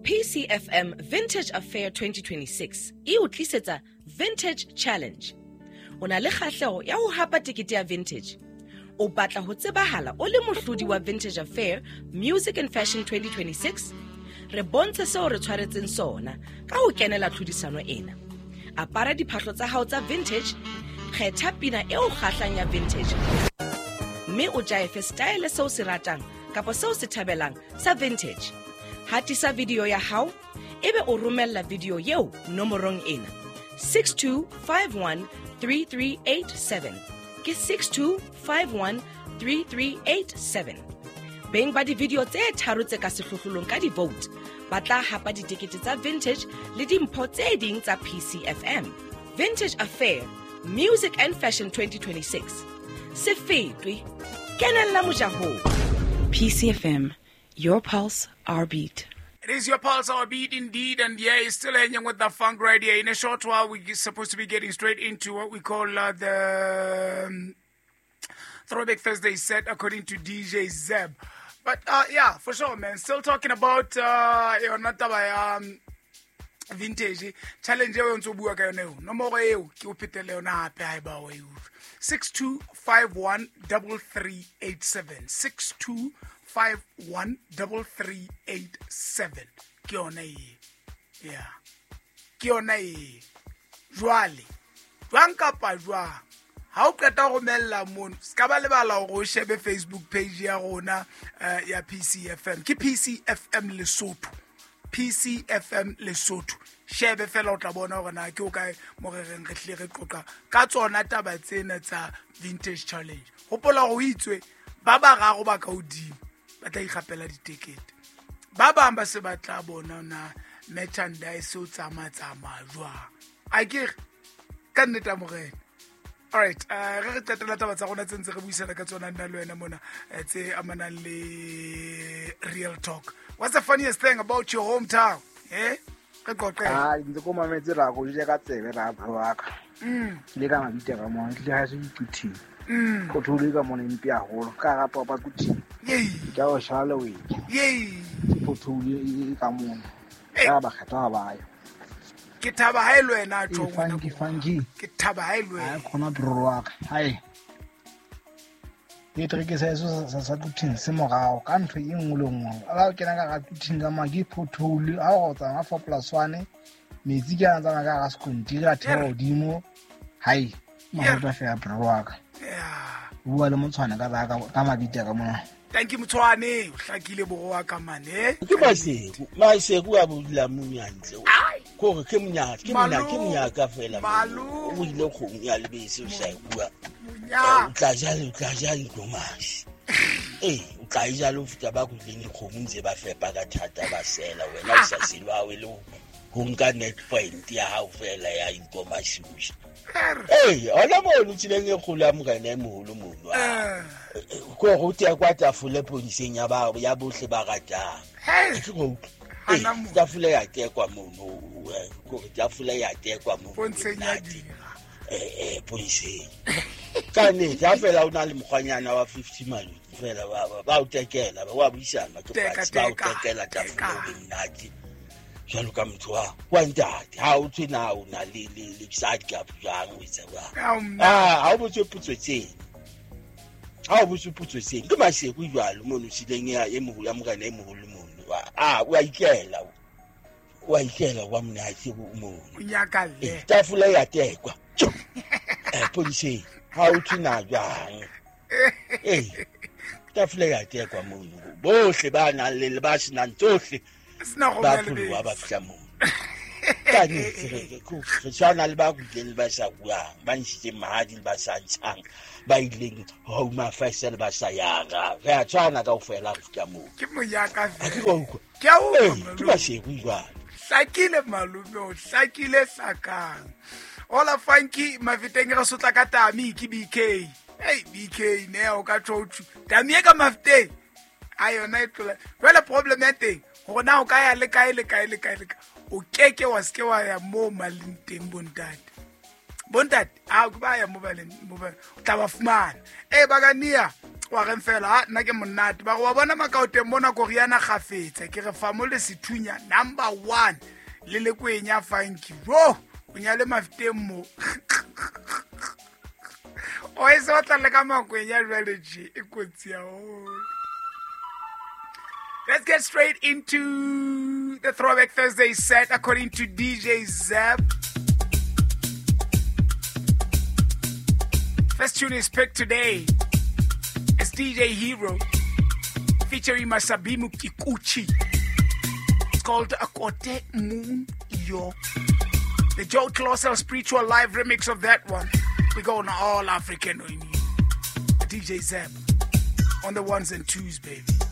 PCFM Vintage Affair 2026 e o tlisetsa Vintage Challenge. O na le kgahleho ya ho hapa tekete ya Vintage. O batla ho tsebahala o le mohlodi wa Vintage Affair Music and Fashion 2026? Re bontshe seo re tshwaretseng sona ka ho kenela tlhodisano ena. Apara diphahlo tsa hao tsa vintage, kgetha pina e o kgahlang ya vintage mme o jaefe style seo se ratang kapa seo se thabelang sa vintage. Hatisa video ya hao ebe o romella video eo nomorong ena 62513387 ke 62513387. Beng ba di-video tse tharo tse ka sehlohlolong ka di-vote ba tla hapa ditekete tsa vintage le dimpho tse ding tsa PCFM. Vintage Affair Music and Fashion 2026. Se fetwe, kenella mojahong. PCFM, your pulse, our beat. It is your pulse, our beat indeed, and yeah, it's still hanging with the funk right here. In a short while, we're supposed to be getting straight into what we call the Throwback Thursday set, according to DJ Zeb. But yeah, for sure, man. Still talking about yona taba ya vintage challenge eo ntse o bua ka yone eo. Nomoro eo ke o phetele yona hape ha eba o e utlwa. 62513387. 62513387. Ke yona e. Yeah. Ke yona e. Jwale, jwang kapa jwang, ha o qeta ho romella mono, se ka ba lebala hore o shebe Facebook page ya rona ya PCFM. Ke PCFM Lesotho. PCFM Lesotho. Shebe fela o tla bona hore na ke o kae mo re reng re hlile re qoqa ka tsona taba tsena tsa Vintage Challenge. Hopola hore o itswe ba bararo ba ka hodimo ba tla ikgapela ditekete. Ba bang ba se ba tla bona na merchandise o tsamaya-tsamaya jwang. A ke re, ka nnete a morena. All right, re re qetela taba tsa rona tse ntse re buisana ka tsona nna le wena mona, tse amanang le Real Talk. What's the funniest thing about your hometown? Re qoqe. Ah, ntse ko mametse ra go ja ka tsebe ra bro wa ka. Ke le ka mabitla ka mona, ke le ha se diquthing. Pothole ka mona mpe haholo, ka ga papa quthing. Ke a o shala o e. Pothole e ka mona. Ka ba kgetha ba ya. Ke thaba ha e le wena a tjho Ee, funky, ngwana. funky. Ke thaba ha e le wena. Ha khona bro wa ka. Hai. Ke tre ke sa eso sa Quthing se morao ka ntho e nngwe le nngwe. Ha o kena ka ga Quthing ka ma ke pothole, ha o tsamaya 4 plus 1, metsi ke a tsamaya ka ga sekontiri a theoha hodimo. Hai, mahota fela bro wa ka. Bua le motshwane ka ra ka mabitla ka mona. Thank you motshwane, o hlakile boro wa ka mane. Ke Maseku, Maseku a bodula mong hantle. Kore ke monyaka, ke monyaka, ke monyaka fela. Malome. O ile kgomo ya lebese o sa e bua. Monyaka. O tla ja, o tla ja dikomasi. O tla e ja le ho feta ba kutleng dikgomo ntse ba fepa ka thata ba sela. Wena o sa sele wa o le ho nka net point ya hao fela ya dikomasi o ja. Hona mono tseleng e kgolo ya morena e moholo mono. Ko re o tea kwa tafole poniseng ya ba, ya bohle ba ratang. Ke go utlwa. Hana mono. Tafole ya tekwa mono, ko re tafole ya tekwa mono. Pontsheng ya dira. Pontsheng. Ka nnete, ha fela o na le mokgwanyana wa 50 maluti fela, ba o tekela, ba wa buisana ke Teka, fatshe, ba o teka, tekela tafole teka. o be monate. Jwalo ka motho wa ntate, ha o thwe na o na le side gap jwang, o etsa jwang? Ha o mna. Ha o botswe potso tseno. Ha o botswe potso tseno. Ke Maseku jwalo mono tseleng ya e moholo, ya morena e moholo mono. O a ikela o. O a ikela wa monate o mono. O nyakalle. Tafole ya tekwa. Tjo. Poliseng, ha o thwe na jwang? Tafole ya tekwa mono. Bohle ba nang le ba senang tsohle. Sena go Ba bua le pholoha ba bese. fihla mono. Ka nnete, re tshwana le ba kutleng le ba sa buang, ba ntshitseng mahadi le ba sa ntshang, ba ileng Home Affairs le ba sa yang. Re a tshwana kaofela re fihla moo. Ke monyaka Ha ke fela. wa utlwa. Ke a utlwa, Ke malome. Maseku jwale. Hlakile malome, o hlakile hlakang. Hola Funky, Mafeteng re sotla ka Tami ke BK. Hey BK ne o ka tjho tjho. Tami e ka Mafeteng. A yona e tlola. Jwale problem ya teng hore na o ka ya le kae le kae le kae le kae. O keke wa se ke wa ya moo maleng teng bontate. Bontate a ke ba ya mo baleng mo ba o tla ba fumana. E ba ka nia wa reng fela ha nna ke monate ba re wa bona makaoteng mona koriana gafetsa ke re fa mo le sethunya number 1 le le kwenya funky yo o nyale mafiteng mo o e se batla le ka makwenya jwale je e kotsi haholo. Let's get straight into the Throwback Thursday set according to DJ Zeb. First tune is picked today. It's DJ Hero featuring Masabimu Kikuchi. It's called Akote Moon Yo. The Joe Colossal Spiritual Live remix of that one. We go on all African on you. DJ Zeb on the ones and twos, baby.